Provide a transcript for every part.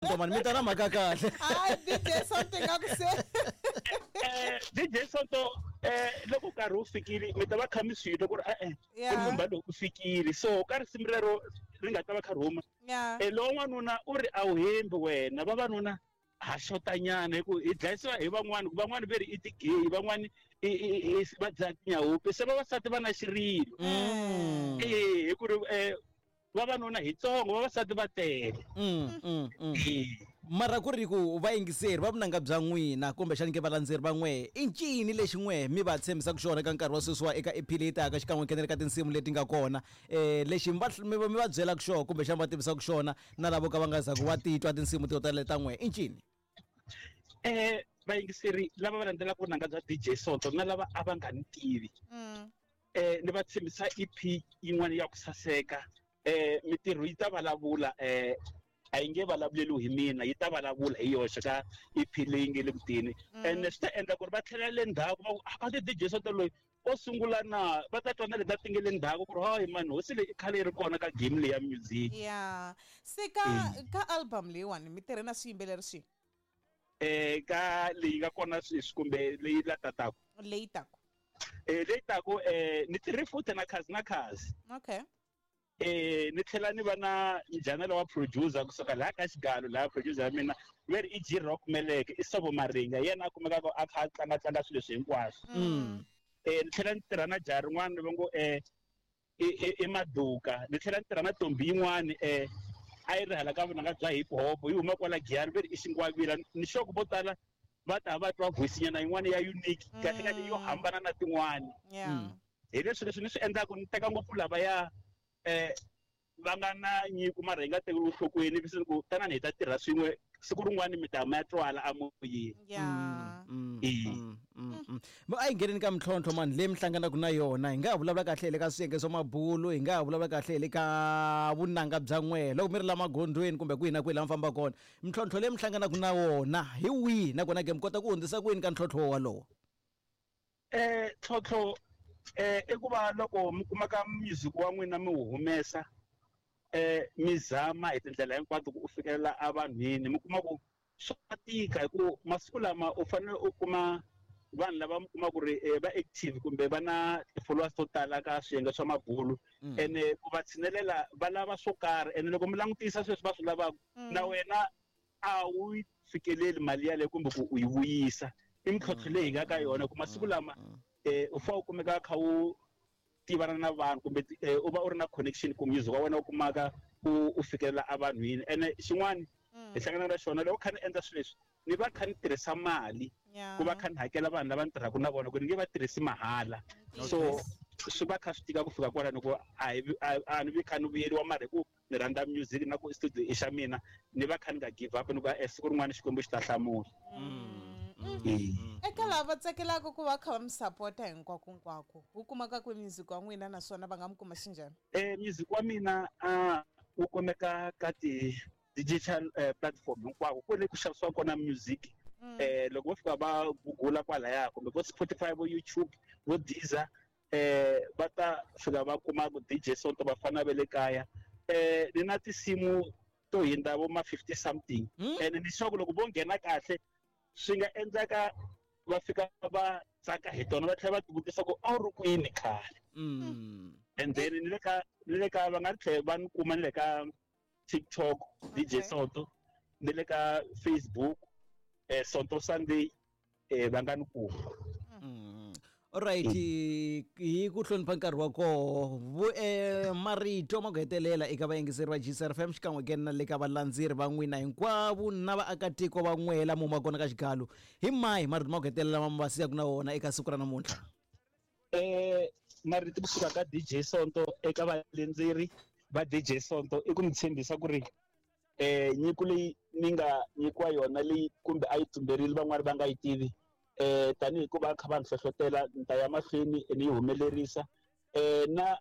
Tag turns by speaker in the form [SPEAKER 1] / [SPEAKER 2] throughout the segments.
[SPEAKER 1] Mani mi ta na mhaka kahle.
[SPEAKER 2] Hayi, DJ Sonto nga ku se.
[SPEAKER 3] DJ Sonto, loko nkarhi wu fikile mi ta va kha mi swi twa ku ri e-e, kumbe lowu u fikile. So ka risimu rero ri nga ta va kha ri huma, lowa n'wanuna u ri a wu hembi wena, vavanuna ha xotanyana hi ku hi dlayisiwa hi van'wani, ku van'wani ve ri i ti-gay, van'wani i va dlaya tinyahupe, se vavasati va na xirilo. Hi ku ri vavanuna hi tsongo, vavasati va tele.
[SPEAKER 1] Mara ku ri ku vayingiseri va vunanga bya n'wina kumbexani ke valandzeri va n'we, i ncini lexi n'we mi va tshembisaka xona eka nkarhi wa sweswiwa eka EP leyi taka xikan'we ngenela ka tinsimu leti nga kona, lexi mi va byelaka xona kumbexani va tivisaka xona na lavo ka va nga zaku va titwa tinsimu to tala ta n'we, i ncini?
[SPEAKER 3] Vayingiseri lava va landzelaka vunanga bya DJ Sonto na lava a va nga ni tivi, ni va tshembisa EP yin'wana ya ku saseka. Mitirho yi ta vulavula, a yi nge vulavuleriwi hi mina, yi ta vulavula hi yoxe ka EP leyi nge le kuteni. Ene swi ta endla ku ri va tlhela le ndzhaku va ku, a ti DJ Sonto loyi o sungula na, va ta twa na leti ti nge le ndzhaku ku ri hayi mani, hosi leyi i khale yi ri kona ka game leyi ya music.
[SPEAKER 2] Ya se ka album leyiwani mi tirhe na swiyimbeleri swihi?
[SPEAKER 3] Ka leyi nga kona sweswi kumbe leyi la tataka?
[SPEAKER 2] Leyi taku.
[SPEAKER 3] Leyi taku, ni tirhe futhi na Khazi na Khazi. Ni tlhela ni va na njhanelo wa producer kusuka laha ka Xigalo, laha producer ya mina ve ri i G Rock Meleke, i Sobo Maringa, yena a kumekaka a kha a tlanga tlanga swilo leswi hinkwaswo. Ni tlhela ni tirha na jaha rin'wana va ngo, i Maduka. Ni tlhela ni tirha na ntombi yin'wani, a yi ri hala ka vunanga bya hip hop, yi huma kwala Giyani, ve ri i Xingwavila. Ni sure ku vo tala va ta va twa voice nyana yin'wana ya unique, kahle kahle yo hambana na tin'wani. Hi leswi leswi ni swi endlaka, ni teka ngopfu lava ya va nga na nyiko mara hi nga tekeli enhlokweni, ni ku tanani hi ta tirha swin'we siku rin'wana mi ta ma twala amoyeni.
[SPEAKER 1] A yi ngheneni ka mintlhontlho mani leyi mi hlanganaka na yona, hi nga ha vulavula kahle hi le ka swiyenge swa mabulu, hi nga ha vulavula kahle hi le ka vunanga bya n'we loko mi ri la magondzweni kumbe kwihi na kwihi laha mi fambaka kona, mintlhontlho leyi mi hlanganaka na wona hi wihi, nakona ke mi kota ku hundzisa kwini ka ntlhontlho wolowo?
[SPEAKER 3] Ntlhontlho i ku va loko mi kumaka music wa n'wina mi wu humesa, mi zama hi tindlela hinkwato ku u fikelela evanhwini, mi kuma ku swa tika hi ku masiku lama u fanele u kuma vanhu lava mi kuma ku ri va active kumbe va na ti-followers to tala ka swiyenge swa mabulu, ene ku va tshinelela va lava swo karhi, ene loko mi langutisa sweswi va swi lavaka, na wena a wu yi fikeleli mali yaleyo kumbe ku u yi vuyisa. I mintlhontlho leyi hi nga ka yona ku masiku lama, u fanele u kumeka kha u tivana na vanhu kumbe u va u ri na connection ku music wa wena u kumaka u fikelela evanhwini. Ene xin'wana hi hlangana na xona, loko kha ni endla swilo leswi ni va kha ni tirhisa mali ku va kha ni hakela vanhu lava ni tirhaka na vona, ku ni nge va tirhisi mahala. So swi va kha swi tika ku fika kwalano ku a ni vi kha ni vuyeriwa, mara hi ku ni rhandza music na ku studio i xa mina, ni va kha ni nga give up, ni ku siku rin'wana Xikwembu xi ta hlamula.
[SPEAKER 2] Eka lava tsakelaka ku va kha va mi sapota hinkwako hinkwako, wu kumaka kwi music wa n'wina naswona va nga mi kuma xinjhani?
[SPEAKER 3] Music wa mina wu kumeka ka ti digital platform hinkwako kwale ku xavisiwa kona music. Loko vo fika va google kwalaya kumbe vo Spotify, vo YouTube, vo Deezer, va ta fika va kuma ku DJ Sonto vafana va le kaya. Ni na tinsimu to hindza vo ma 50 something. Ene ni sure ku loko vo nghena kahle swi nga endleka va fika va tsaka hi tona, va tlhela va tivutisa ku a wu ri kwini khale. And then ni le ka, ni le ka va nga tlhela va ni kuma ni le ka TikTok DJ Sonto, ni le ka Facebook, Sonto Sunday, va nga ni kuma.
[SPEAKER 1] Alright, hi ku hlonipha nkarhi wa koho, marito ma ku hetelela eka vayingiseri va GCR FM xikan'we ke na le ka valandzeri va n'wina hinkwavo na vaakatiko va n'we la mu ma kona ka Xigalo, hi mahi marito ma ku hetelela ma va siyaka na wona eka siku ra namuntlha?
[SPEAKER 3] Marito kusuka ka DJ Sonto eka valandzeri va DJ Sonto i ku mi tshembisa ku ri nyiko leyi ni nga nyikiwa yona leyi kumbe a yi tumberile van'wani va nga yi tivi, tanihi ku va kha va ni hlohlotela ni ta ya mahlweni ni yi humelerisa. Na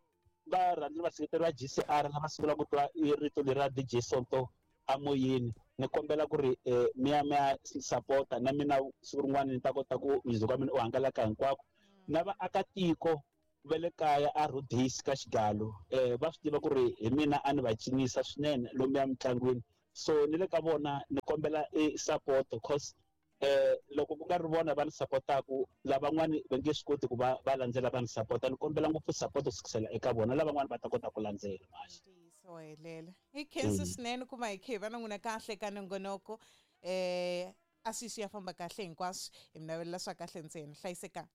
[SPEAKER 3] varhandzi vaseketeri va GCR lava sungulaka ku twa i rito leri ra DJ Sonto amoyeni, ni kombela ku ri mi ya mi ya sapota na mina siku rin'wana ni ta kota ku music wa mina u hangalaka hinkwako. Na vaakatiko va le kaya a Rhodes ka Xigalo, va swi tiva ku ri hi mina a ni va cinisa swinene lomuya mintlangwini. So ni le ka vona ni kombela e support, cause loko ku nga ri vona va ni supportaku, lavan'wani va nge swi koti ku va va landzela va ni support-a. Ni kombela ngopfu support ku sukisela eka vona, lavan'wani va ta kota ku landzela mhaxi.
[SPEAKER 2] Ntiyiso wa helela. Hi khensi swinene ku va hi khe hi va na n'wina kahle ka nongonoko. A swi swi ya famba kahle hinkwaswo, hi mi navelela swa kahle ntsena. Hlayisekani.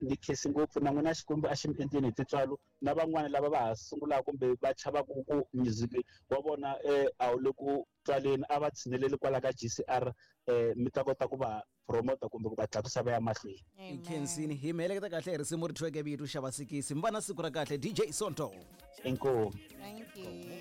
[SPEAKER 3] Ni khensi ngopfu na n'wina, Xikwembu a xi mi endleni hi tintswalo. Na van'wani lava va ha sungulaka kumbe va chavaka ku music wa vona a wu le ku twaleni, a va tshineleli kwala ka GCR, mi ta kota ku va promota kumbe ku va tlakusa va ya mahlweni.
[SPEAKER 1] Hi khensini, hi mi heleketa kahle hi risimu ri thyiweke vito Xava Sikisi. Mi va na siku ra kahle, DJ Sonto.
[SPEAKER 3] Inkomu.
[SPEAKER 2] Thank you.